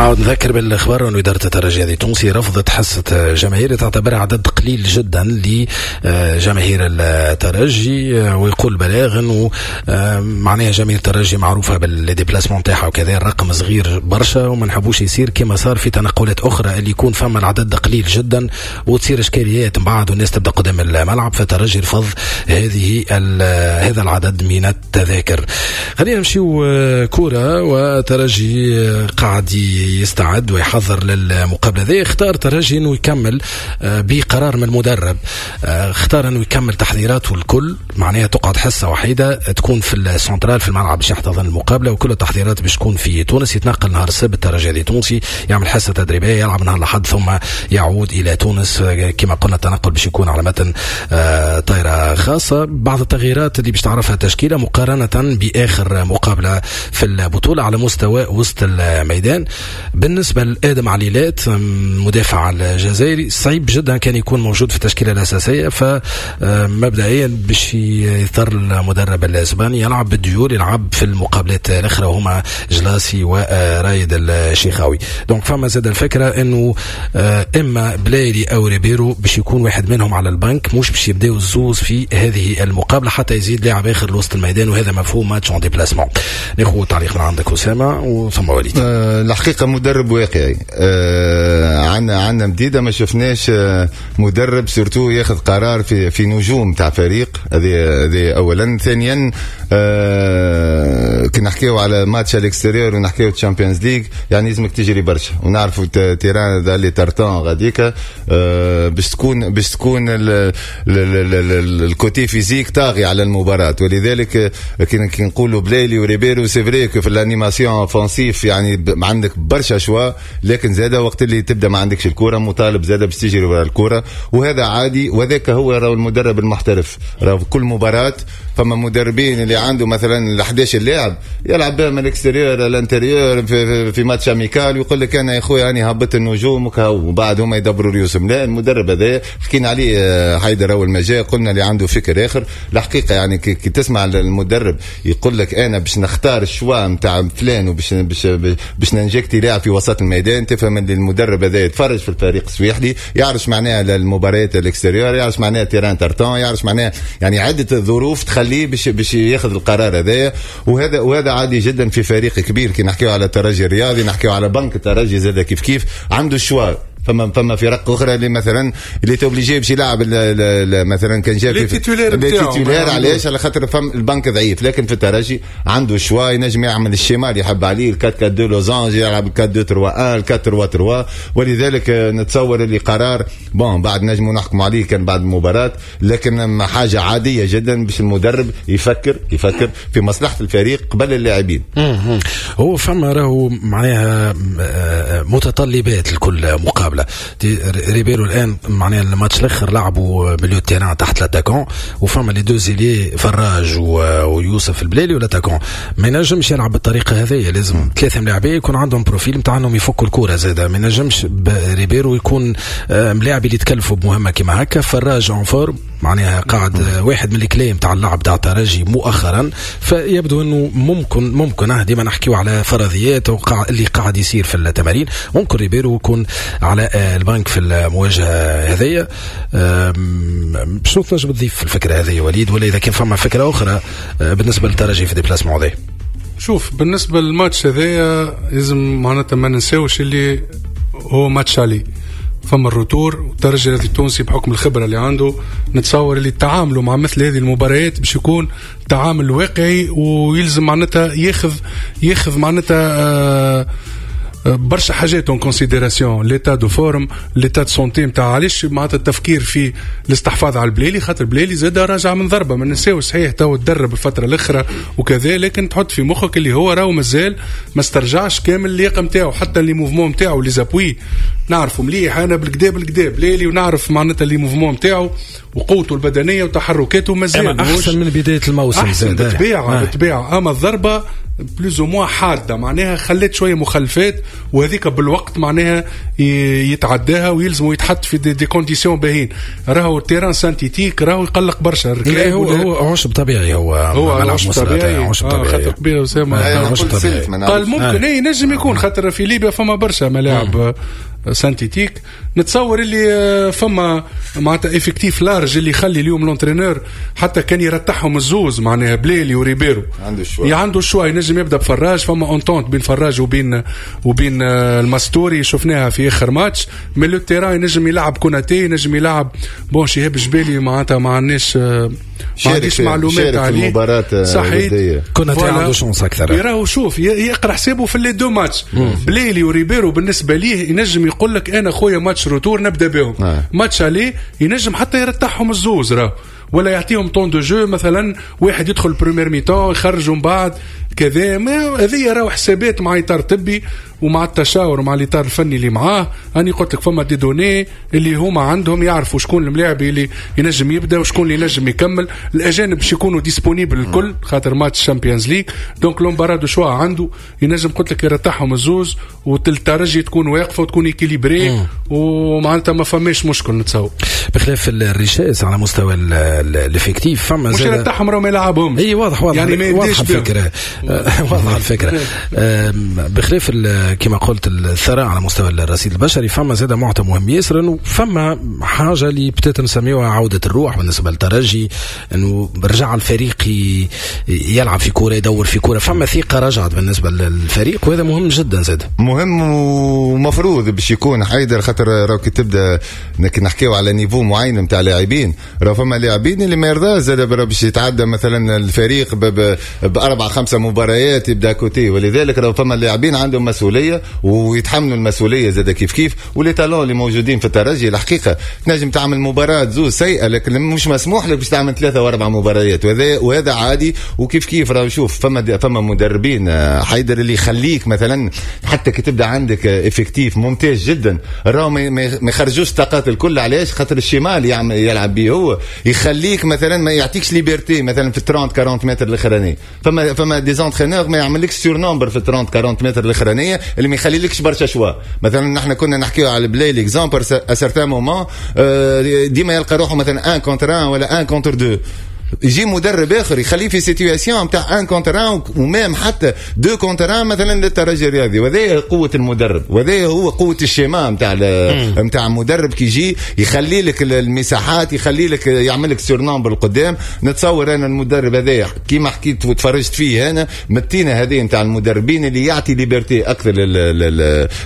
عاود نذكر بالخبر أن إدارة الترجي التونسي رفضت حصة جماهير تعتبرها عدد قليل جدا لجماهير الترجي، ويقول بلاغ أنه معناها جماهير الترجي معروفة بال déplacements تاعها وكذا، الرقم صغير برشا وما نحبوش يصير كما صار في تنقلات أخرى اللي يكون فما العدد قليل جدا وتصير إشكاليات من بعد والناس تبدا قدام الملعب. فالترجي رفض هذا العدد من التذاكر. خلينا نمشيو كورة، وترجي قاعد يستعد ويحضر للمقابلة ذي. اختار ترجي انه يكمل بقرار من المدرب، اختار انه يكمل تحضيراته الكل، معناها تقعد حصة وحيدة تكون في السنترال في الملعب باش يحتضن المقابلة، وكل التحضيرات باش تكون في تونس. يتنقل نهار السبت الترجي التونسي، يعمل حصة تدريبية، يلعب نهار الأحد ثم يعود إلى تونس. كما قلنا التنقل باش يكون على متن طائرة خاصة. بعض التغييرات اللي باش تعرفها التشكيلة مقارنة بآخر مقابلة في البطولة على مستوى وسط الميدان. بالنسبة لآدم عليلات مدافع الجزائري صعيب جدا كان يكون موجود في التشكيلة الأساسية، فمبدئيا باش يضطر المدرب الإسباني يلعب بالديور، يلعب في المقابلات الأخرى وهما جلاسي ورايد الشيخاوي. donc فما زاد الفكرة انه اما بلايلي او ريبيرو باش يكون واحد منهم على البنك، مش باش يبداو الزوز في هذه المقابلة حتى يزيد لاعب اخر لوسط الميدان، وهذا مفهوم match en déplacement. ناخذ تعليق من عندك اسامة وثم وليد. الحقيقة مدرب واقعي، عندنا مديدة ما شفناش مدرب surtout ياخذ قرار في نجوم تاع فريق، هذه اولا. ثانيا كي نحكيو على match à l'extérieur ونحكيو Champions League، يعني لازمك تجري برشا، ونعرفوا terrain ذا tartan غاديكا، باش تكون ال côté physique طاغي على المباراة. ولذلك كي نقولوا بلايلي وريبيرو، c'est vrai في l'animation offensive يعني عندك برشا choix، لكن زاده وقت اللي تبدا ما عندكش الكورة مطالب زاده باش تجري ورا الكوره، وهذا عادي. وذاك هو راهو المدرب المحترف، راهو في كل مباراة فما مدربين اللي عنده مثلا ال 11 لاعب يلعب بهم من l'extérieur l'intérieur في match amical، ويقول لك انا يا خويا اني هبطت النجوم وبعد هما يدبروا ريوسهم. لا، المدرب هذا حكينا عليه حيدر اول ما جاء، قلنا اللي عنده فكر اخر الحقيقه. يعني كي تسمع المدرب يقول لك انا باش نختار ال choix نتاع فلان وباش باش باش ن injecter لاعب في وسط الميدان، تفهم ان المدرب هذا يتفرج في الفريق السويحلي، يعرف معناها المباريات l'extérieur، يعرف معناها terrain tartan، يعرف معناها يعني عده ظروف تخليه باش ياخذ القرار هذايا. وهذا عادي جدا في فريق كبير. كي نحكيو على الترجي الرياضي، نحكيو على بنك الترجي زاد كيف كيف عنده ال choix. فما فرق اخرى اللي مثلا اللي t'es obligé باش يلعب مثلا كان جا في titulaires. علاش؟ على خاطر فم البنك ضعيف. لكن في الترجي عنده choix، ينجم يعمل ال schéma اللي يحب عليه، 4 4 2 losange، يلعب 4 2 3 1، 4 3 3. ولذلك نتصور اللي قرار bon بعد نجموا نحكموا عليه كان بعد المباراة، لكن حاجة عادية جدا باش المدرب يفكر في مصلحة الفريق قبل اللاعبين. هو فما راهو معناها متطلبات لكل مقابله. ريبيرو الان معناها الماتش الاخر لعبوا milieu terrain تحت l'attaquant، وفما les deux ailiers فراج ويوسف البلالي و l'attaquant ما ينجمش يلعب بالطريقة هذه. لازم ثلاثة ملاعبيه يكون عندهم profil نتاع انهم يفكوا الكره زاده. ما ينجمش ريبيرو يكون ملاعب اللي يتكلفوا بمهمة كما هكا. فراج en forme، معناها قاعد واحد من les clés نتاع اللعب تاع الترجي مؤخرا، فيبدو انه ممكن ديما نحكيو على فرضيات اللي قاعد يصير في التمارين، ممكن ريبيرو يكون على البنك في المواجهة هذيا. شنو تنجم تضيف في الفكرة هذه وليد، ولا اذا كان فما فكرة اخرى بالنسبة للترجي في déplacement هذا؟ شوف، بالنسبة للماتش هذايا لازم معناتها ما ننساوش اللي هو match aller، فما ال retour. والترجي الرياضي التونسي بحكم الخبرة اللي عنده نتصور اللي تعاملوا مع مثل هذه المباريات باش يكون تعامل واقعي، ويلزم معناتها ياخذ معناتها برشا حاجات en considération، l'état de forme، l'état de santé نتاع. علاش معناتها التفكير في الاستحفاظ على البليلي؟ خاطر البليلي زاد راجع من ضربه، ما ننساوش. صحيح تو تدرب الفترة الاخرى وكذا، لكن تحط في مخك اللي هو راهو مازال ما استرجعش كامل اللياقة نتاعو، حتى les mouvements نتاعو، les appuis. نعرفوا مليح انا بالكدا بالكدا بليلي، ونعرف معناتها les mouvements نتاعو. وقوته البدنية وتحركاته مازال احسن من بداية الموسم، احسن بالطبيعة بالطبيعة. اما الضربة plus ou moins حادة معناها خلت شوية مخلفات، وهذيك بالوقت معناها يتعداها ويلزموا يتحط في des conditions باهين. راهو terrain synthétique راهو يقلق برشا. هو عشب طبيعي، هو عشب طبيعي، عشب طبيعي خاطر كبير اسامة عشب طبيعي. قال ممكن اي نجم يكون خاطر في ليبيا فما برشا ملاعب synthétique. نتصور اللي فما معناتها effectif large اللي يخلي اليوم l'entraîneur حتى كان يرتحهم الزوز معناها بليلي وريبيرو عنده ال choix، عنده ال choix، ينجم يبدا بفراج. فما entente بين فراج وبين المستوري شفناها في اخر ماتش. من le terrain ينجم يلعب كوناتي، ينجم يلعب bon شهاب جبالي معناتها ما عندناش ما عنديش معلومات عليه صحيح. كوناتي عنده chance اكثر، يراهو شوف يقرا حسابه في les deux matchs. بليلي وريبيرو بالنسبة ليه ينجم يقول لك انا خويا match retour نبدا بهم، match aller ينجم حتى يرتاحهم الزوز راه، ولا يعطيهم temps de jeu مثلا واحد يدخل première mi-temps يخرجوا من بعد كذا. هذه راهو حسابات مع اطار طبي ومع التشاور مع الاطار الفني اللي معاه. انا قلت لك فما des données اللي هما عندهم يعرفوا شكون الملاعب اللي ينجم يبدا وشكون اللي ينجم يكمل. الاجانب باش يكونوا disponibles الكل خاطر match Champions League، donc l'embarras du choix عنده ينجم قلت لك يرتاحهم الزوز والترجي تكون واقفة وتكون équilibrée ومعناتها ما فماش مشكل نتصور. بخلاف ال richesse على مستوى ال effectif فما مش يرتاحهم راهم يلعبهم. اي واضح واضح يعني ما واضحة الفكرة، واضحة الفكرة. بخلاف كما قلت الثراء على مستوى الرصيد البشري، فما زاد معطى مهم ياسر انه فما حاجة اللي بدات نسميوها عوده الروح بالنسبة للترجي، انه رجع الفريق يلعب في كورة، يدور في كورة، فما ثقة رجعت بالنسبة للفريق، وهذا مهم جدا زاد. مهم ومفروض باش يكون حيدر، خاطر راهو كي تبدا نحكيو على niveau معين نتاع لاعبين، راهو فما لاعبين اللي ما يرضاش زاد باش يتعدى مثلا الفريق باربع خمسة مباريات يبدا côté، ولذلك راهو فما لاعبين عندهم مسؤولية ويتحملوا المسؤولية زاد كيف كيف. و les talents اللي موجودين في الترجي الحقيقة تنجم تعمل مباراة زوز سيئه، لكن مش مسموح لك باش تعمل 3 و4 مباريات، وهذا عادي. وكيف كيف راهو شوف فما مدربين حيدر اللي يخليك مثلا حتى كي تبدا عندك effectif ممتاز جدا راهو ما يخرجوش طاقات الكل. علاش؟ خاطر ال schéma يلعب به هو يخليك مثلا ما يعطيكش liberté مثلا في 30 40 متر الاخرانية. فما des entraîneurs ما يعملكش surnombre في 30 40 متر الاخرانية اللي ما يخليلكش برشا choix. مثلا نحن كنا نحكيو على بلايلي exemple à certains moments ديما يلقى روحه مثلا 1 contre 1 ولا 1 contre 2، يجي مدرب اخر يخليه في situation نتاع 1 contre 1 و même حتى 2 contre 1 مثلا للترجي الرياضي. وهذا قوة المدرب، وهذا هو قوة ال schéma نتاع المدرب كي يجي يخلي لك المساحات، يخلي لك يعمل لك surnombre القدام. نتصور انا المدرب هذا كيما حكيت وتفرجت فيه انا متينا هذه نتاع المدربين اللي يعطي liberté اكثر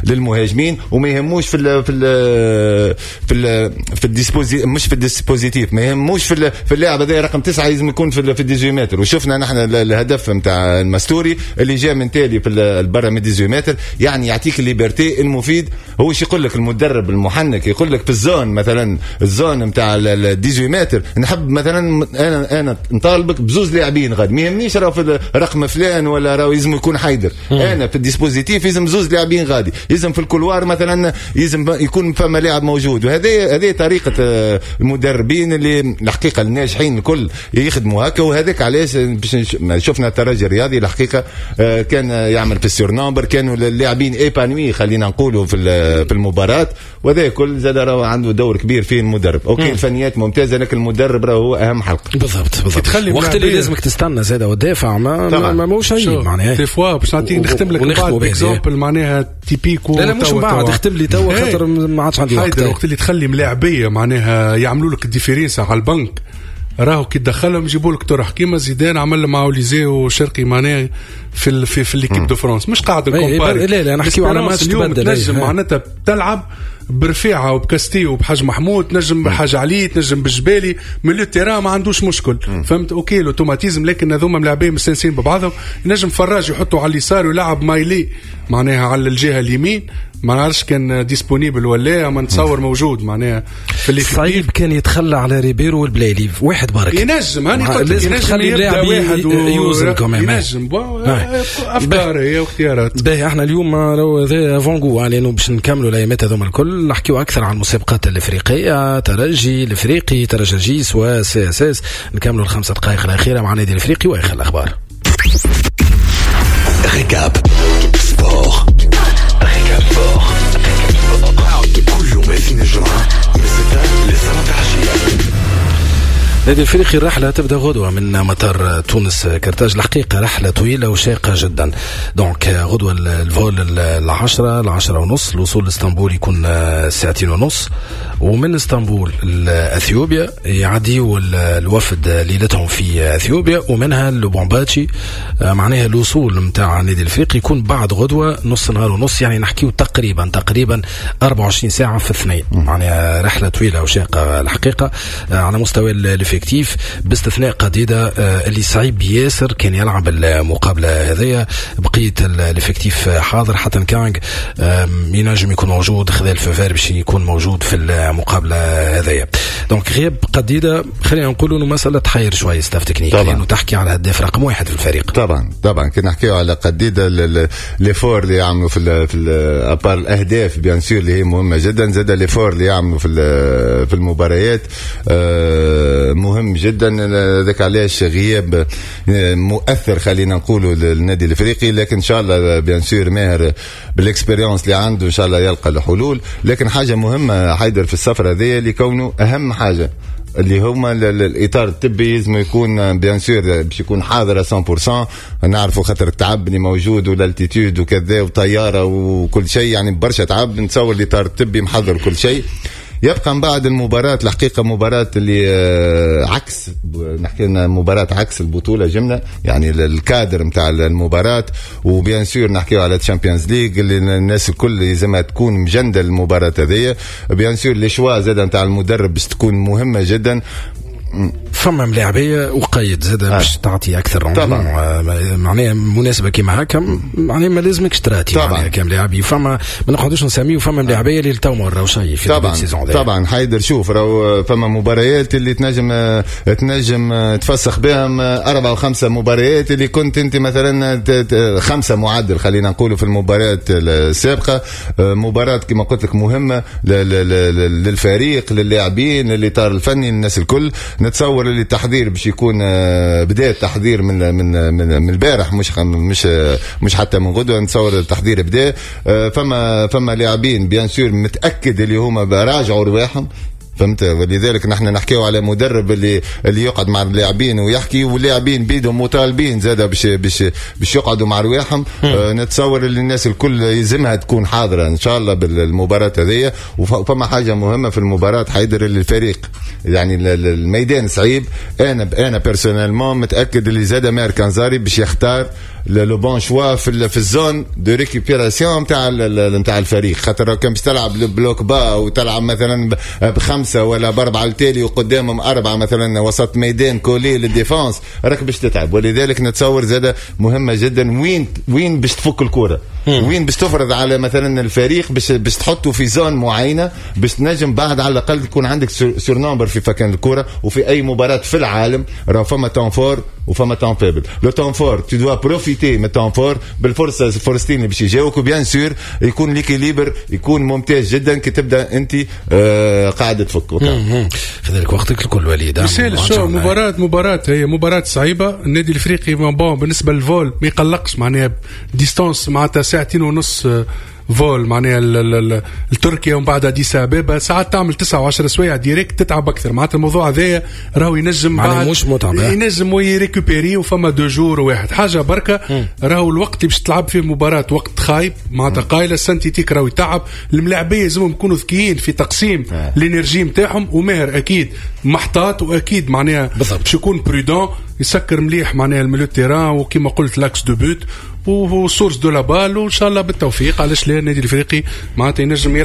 للمهاجمين وما يهموش في ال في ال في ال في ال disposi مش في ال dispositif، ما يهموش في اللاعب هذا رقم 9 لازم يكون في 18 متر. وشفنا نحن الهدف نتاع المستوري اللي جاء من تالي في البرا من 18 متر، يعني يعطيك ال liberté. المفيد هو شو يقول لك المدرب المحنك، يقول لك في ال zone مثلا ال zone نتاع 18 متر نحب مثلا انا نطالبك بزوز لاعبين غاد، ما يهمنيش راه في رقم فلان ولا راه لازم يكون حيدر. انا في ال dispositif لازم زوز لاعبين غادي، لازم في ال couloir مثلا لازم يكون فما لاعب موجود. وهذه طريقه المدربين اللي الحقيقة الناجحين الكل يخدموا هكا. وهذاك علاش شفنا الترجي الرياضي الحقيقة كان يعمل في ال surnombre، كانوا اللاعبين épanouis خلينا نقولوا في المباراة، وهذا كل زاد راه عنده دور كبير فيه المدرب. OK الفنيات ممتازة لكن المدرب راه هو اهم حلقة. بالضبط بالضبط. وقت اللي لازمك تستنى زاد وتدافع ما ماهوش عيب معناها. des fois باش نعطيك نختم لك بعد exemple معناها typique. لا لا مش بعد اختم لي توا خاطر ما عادش عندي وقت. وقت اللي تخلي ملاعبيه معناها يعملوا لك ال différence على البنك، راهو كي تدخلهم يجيبوا لك طرح كيما زيدان عمل مع اوليزي وشرقي معناها في في l'équipe de France. مش قاعد نكومباري، لا لا نحكيو على ماتش تبدل. تنجم معناتها تلعب برفيعه وبكاستي وبحاج محمود، تنجم بحاج علي، تنجم بالجبالي، milieu terrain ما عندوش مشكل. فهمت؟ OK l'automatisme، لكن هذوما ملاعبين مستانسين ببعضهم. نجم فراج يحطوا على اليسار ويلعب مايلي معناها على الجهة اليمين، ما نعرفش كان disponible ولا، ما نتصور موجود معناها في اللي صعيب كان يتخلى على ريبيرو والبلايلي واحد بارك. ينجم هاني قلت ينجم يبدا واحد ينجم افكار هي واختيارات. باهي احنا اليوم راهو هذا avant-goût لانه باش نكملوا الايامات هذوما الكل. الكل، نحكيو اكثر عن المسابقات الافريقيه، ترجي الافريقي، ترجي جيس و CSS. نكملوا الخمسة دقائق الاخيرة مع النادي الافريقي واخر الاخبار. Récap Sport. Récap Sport. كل يوم اثنين الجمعة من 6 ل 7 عشية. نادي الافريقي الرحلة تبدا غدوه من مطار تونس كرتاج. الحقيقة رحله طويلة وشاقه جدا. donc غدوه ال vol 10:30، الوصول لاسطنبول يكون 2:30، ومن اسطنبول لاثيوبيا يعديوا الوفد ليلتهم في اثيوبيا، ومنها لوبومباتشي. معناها الوصول نتاع النادي الافريقي يكون بعد غدوه نص نهار ونص، يعني نحكيو تقريبا 24 ساعة في اثنين. معناها رحله طويلة وشاقه الحقيقة على مستوى ال effectif، باستثناء قديدة اللي صعيب ياسر كان يلعب المقابلة هذيا. بقية ال effectif حاضر، حتى كانغ ينجم يكون موجود، خذا ال feu vert باش يكون موجود في المقابلة هذيا. donc غياب قديدة خلينا نقولوا انه مسألة تحير شوية staff technique، لانه تحكي على هداف رقم واحد في الفريق. طبعا كي نحكيو على قديدة، l'effort اللي يعملوا في à part الاهداف bien sûr اللي هي مهمة جدا، زاد l'effort اللي يعملوا في المباريات مهم جدا. ذاك علاش غياب مؤثر خلينا نقولوا للنادي الافريقي، لكن ان شاء الله bien sûr ماهر بال expérience اللي عنده ان شاء الله يلقى الحلول. لكن حاجة مهمة حيدر في السفرة هذه، اللي كونه اهم حاجة اللي هما الاطار الطبي لازم يكون bien sûr باش يكون حاضر 100%. نعرفوا خاطر التعب اللي موجود وال altitude وكذا وطياره وكل شيء، يعني برشا تعب. نتصور الاطار الطبي محضر كل شيء. يبقى من بعد المباراة الحقيقة مباراة اللي عكس، نحكي لنا مباراة عكس البطولة جملة، يعني الكادر نتاع المباراة. و bien sûr نحكيو على Champions League اللي الناس الكل لازمها تكون مجندة المباراة هذيا. bien sûr les choix زاد نتاع المدرب باش تكون مهمة جدا. فما ملاعبيه وقيد زاد باش تعطي اكثر طبعا. معناها مناسبة كيما هكا، معناها ما لازمكش تراتي معناها كملاعبي. فما ما نقعدوش نسميو، فما ملاعبيه اللي تو ما وراو شيء في طبعا ال saison. طبعا حيدر شوف راهو فما مباريات اللي تنجم تفسخ بهم 4 و 5 مباريات اللي كنت انت مثلا 5 معدل خلينا نقولوا في المباريات السابقة. مباراة كما قلت لك مهمة للفريق، للاعبين، للاطار الفني، للناس الكل. نتصور اللي التحضير باش يكون بدا التحضير من من من البارح، مش حتى من غدوه. نتصور التحضير بدا. فما لاعبين bien sûr متاكد اللي هما راجعوا رواحهم، فهمت؟ ولذلك نحن نحكيو على مدرب اللي يقعد مع اللاعبين ويحكي، واللاعبين بيدهم مطالبين زاده باش باش باش يقعدوا مع رواحهم. نتصور اللي الناس الكل يلزمها تكون حاضره ان شاء الله بالمباراة هذه. وفما حاجة مهمة في المباراة حيدر، اللي الفريق يعني الميدان صعيب. انا personnellement متاكد اللي زاد ماهر كنزاري باش يختار le bon choix في ال zone de récupération نتاع الفريق، خاطر كان باش تلعب bloc bas وتلعب مثلا بخمسة ولا باربعة التالي وقدامهم اربعة مثلا وسط ميدان collés لل défense، راك باش تتعب. ولذلك نتصور زاد مهمة جدا وين باش تفك الكره، وين باش تفرض على مثلا الفريق باش تحطه في zone معينة باش تنجم بعد على الاقل يكون عندك surnombre في فكان الكره. وفي اي مباراة في العالم راه فما temps fort وفما temps faible. le temps fort tu dois profiter من temps fort بالفرصه، الفرصتين اللي باش يجاوك، و bien sûr يكون l'équilibre يكون ممتاز جدا كي تبدا انت قاعد تفك. خذلك وقتك الكل وليد. شو مباراة هي مباراة صعيبة. النادي الافريقي bon بالنسبة لل vol ما يقلقش، معناها distance معناتها 2.5 ساعة vol معناها التركيا ومن بعد اديس ابابا، ساعات تعمل 9 و10 سوايع direct تتعب اكثر. معناتها الموضوع هذايا راهو ينجم بعد مش متعب، ينجم ي récupérer وفما 2 jours واحد حاجة بركة. راهو الوقت اللي باش تلعب فيه مباراة وقت خايب معناتها قايله synthétique راهو يتعب. الملاعبيه لازمهم يكونوا ذكيين في تقسيم ال énergie نتاعهم، وماهر اكيد محتاط واكيد معناها باش يكون prudent، يسكر مليح معناها ال milieu terrain، وكما قلت l'axe de but و source de la balle. وان شاء الله بالتوفيق. علاش لا النادي الافريقي معناتها ينجم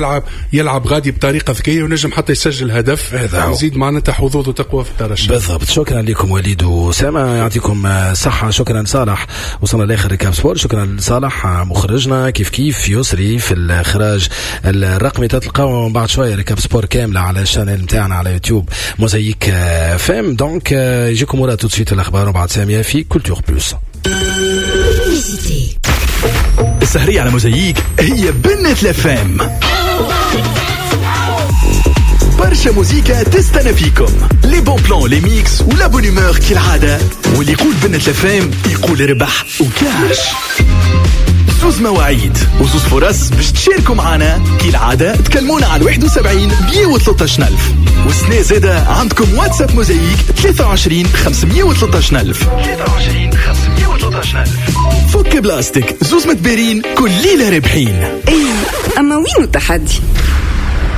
يلعب غادي بطريقة ذكية وينجم حتى يسجل هدف يزيد معناتها حظوظه تقوى في الترشح. بالضبط. شكرا لكم وليد واسامة، يعطيكم صحة. شكرا صالح، وصلنا لاخر Récap Sport. شكرا لصالح مخرجنا، كيف كيف يسري في الاخراج الرقمي. تلقاو بعد شوية Récap Sport كاملة على ال chaîne نتاعنا على يوتيوب Mosaïque FM. donc يجيكم ورا tout de suite الاخبار وبعد سامية في Culture Plus. السهرية على موزايك هي بنة ال FM. برشا موزيكا تستنى فيكم، les bons plans، les mix و la bonne humeur كالعادة. واللي يقول بنة الافام يقول ربح وكاش. زوز مواعيد وزوز فرص باش تشاركوا معنا كالعادة. تكلمونا على 71 113 ألف. والسنة زادة عندكم واتساب موزايك 23 513 ألف، 23 513 ألف. فك بلاستيك، زوز متبارين كل ليلة رابحين. اي، اما وين التحدي؟